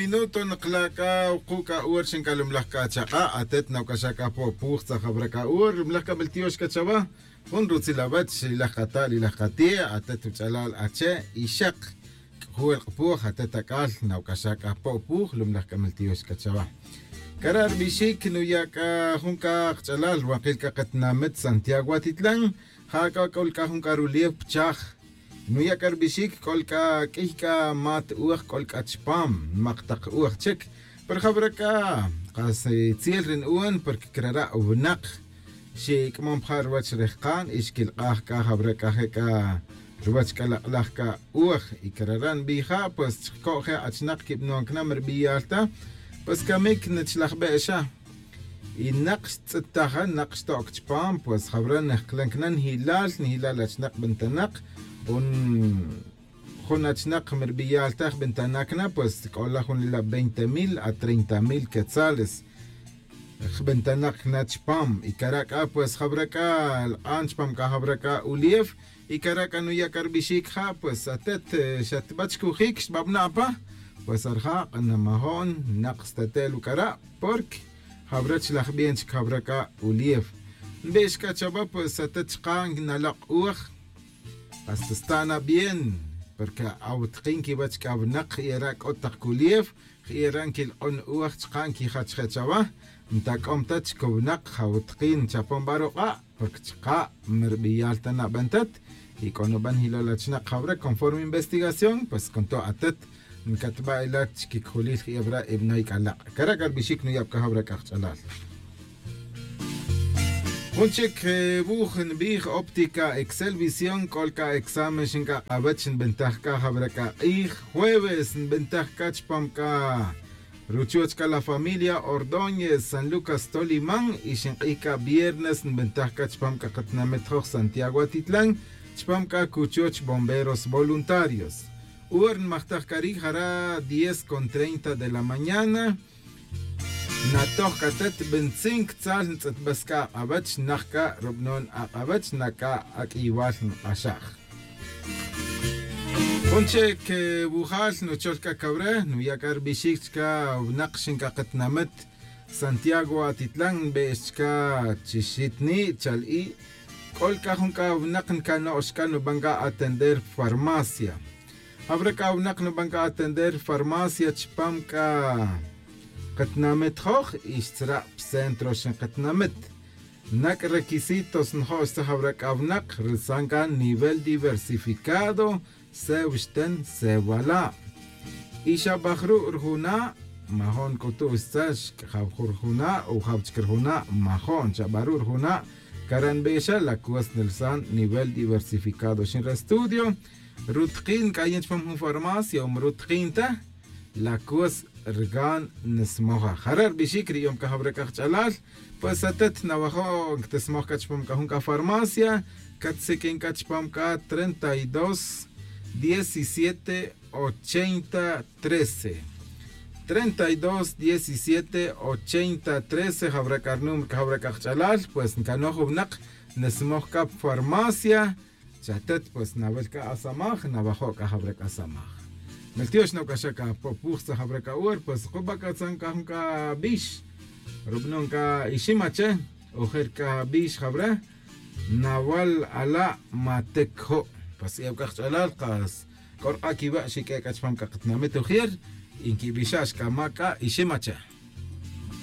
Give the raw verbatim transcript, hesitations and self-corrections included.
Minuto nqla' c'a wuku' c'a hora xin c'a lumlaj c'a chak'a' atet nawc'axaj c'a po'puj tzajabra c'a hora lumlaj c'a miltiox c'a chawa. Jun rutzil awech ilaj kata' ilaj kati' atet wuch'alal ache' ixak c'ujuwel k'apuj atet ac'al nawc'axaj c'a po'puj lumlaj c'a miltiox c'a chawa. Cara' rbixic nuya' c'a jun c'a kach'alal wankil c'a katinamit santiago atitlan. Ja c'a c'ol c'a jun c'a rulief pchaj nuya' c'a rbixic c'ol c'a q'uiy c'a mat uj c'ol c'a chpam mak tak uj chic. Pero jawra c'a kas tziel ri nu'un porque crara' winak xic'amom ja ruwech rejkan y xquilk'aj c'a jawra c'a je' c'a ruwech c'a lak'laj c'a uj. Y crara' nbij ja pues chco'je' achinak quibnon cana mi rbiyal ta pues camic nachlajbe' xa. Y nak xtz'it taja nak xto'c chpam pues jawra nijklan cana nji'lal nji'lal achinak bentanak. Un jun achinak mi rbiyal taj bentanak na pues c'ola jun ila' veinte mil a treinta mil quetzales. Jbentanak na chpam y cara' c'a pues jawra c'a lk'an chpam c'a jawra c'a ulief. Y cara' c'a nuya' c'a rbixic ja pues atet xatba chcujic xtbabna' pa pues arja' c'a namajo'n nak state'l uc'ara'. Porque jawra chlaj bien chic jawra c'a ulief. Nbix c'a chawa pues atet chka' nalok' uj. Hasta sta' na bien porque awutkin quiwech c'a winak y ara' c'o tak culief. Y ara' nquilk'on uj chka' nquijach je' chawa. Ntac'om ta chcowinak jawutkin chapon ba ruk'a' porque chka' mi rbiyal ta naben tet. Y c'o nuben jilol achinak jawra conforme investigación pues con to' atet ncatba' ila' chiquicjulil jiyabra' ibnoy c'a lak'. Cara' c'a rbixic nuyab c'a jawra c'a kach'alal. Jun chic wuj nbij óptica excel visión c'ol c'a examen xinc'ak'awech nbentaj c'a jawra c'a k'ij jueves nbentaj c'a chpam c'a ruchoch c'a la familia ordóñez san lucas toliman y xink'ij c'a viernes nbentaj c'a chpam c'a katinamit joj santiago atitlan chpam c'a cuchoch bomberos voluntarios. Hora nmajtaj c'a ri' jara' diez con treinta de la mañana. Natoj c'a tet bintzin ctzal ntz'etbes c'a ak'awech nak c'a rubnon ak'awech na c'a aq'uiywal nk'axaj. Jun che' quewujal nuchol c'a cawre nuya' c'a rubixic chca winak xin c'a katinamit santiago atitlan nbe'ex chca chixitni' chal i'. C'ol c'a jun c'a winak ncano'x c'a nuban c'a atender farmacia. Jawra c'a winak nuban c'a atender farmacia chpam c'a katinamit joj y xtzra' pcentro xin katinamit. Nac'a requisitos njo' xtzaj jawra c'a winak rilsan c'a nivel diversificado sew xten sew ala'. Y xa baj ru' rijuna'. Majo'n c'utu' xtzaj xc'ajaw jun rijuna' o jaw chic rijuna' majo'n xa baj ru' rijuna'. Cara' nbe'exa la cos nilsan nivel diversificado xin re estudio. Rutkin c'a yin chpam jun farmacia o mi rutkin ta la cos rgan nismoja jare' rbixic ri yom c'a jawra c'a kach'alal. Pues atet nawajo' nctismoj c'a chpam c'a jun c'a farmacia. Catsiq'uin c'a chpam c'a treinta y dos diecisiete ochenta trece. Treinta y dos diecisiete ochenta trece jawra c'a rinúmero c'a jawra c'a kach'alal pues ncanoj winak. Nismoj c'a pa farmacia. Chatet pues nawel c'a asamaj nawajo' c'a jawra c'a asamaj. Meltiox nawc'axaj c'a popuj tzaj jawra c'a hora pues kuba c'a tzan c'a jun c'a bix. Rubanon c'a iximache ojer c'a bix jawra. Nawal ala' matec jo'. Pues ewc'a kach'alal kas c'o rk'a' quiwa' xiq'ue' c'a chpam c'a katinamit ojer. Y nquibixa'x c'a ma c'a iximache.